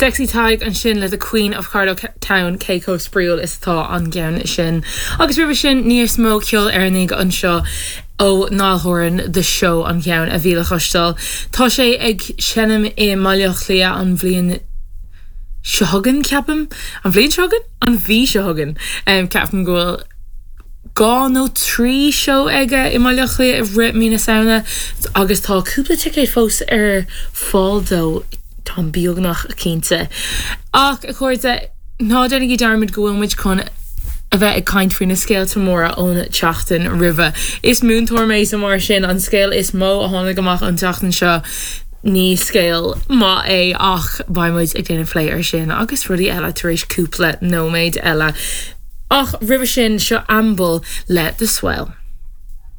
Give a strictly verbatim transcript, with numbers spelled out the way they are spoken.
Sexy Tadhg ansin le the Queen of Carlow Town cé chomh spraíúil is atá an ceann sin. Agus roimhe sin níos mó ceol Éireannaigh anseo ó Niall Horan The Show an ceann a bhí le cloisteáil. Tá sé ag seinm i mBaile Átha Cliath an bhliain seo chugainn ceapaim an bhliain seo chugainn an mhí seo chugainn um, ceapaim go bhfuil dhá nó trí seó aige i mBaile Átha Cliath i rith mí na Samhna agus tá cúpla ticéad fós ar fáil dó tá beagnach cinnte. Ach a chairde ná déanaigí dearmad go bhfuil muid chun a bheith ag caint faoi na scéalta móra ón tseachtain roimhe. Is múinteoir mé so mar sin an scéal is mó a tháinig amach an tseachtain seo ní scéal maith é ach beimid ag déanamh plé ar sin agus rudaí eile tar éis cúpla nóiméad eile. Ach roimhe sin seo Amble le The Swell.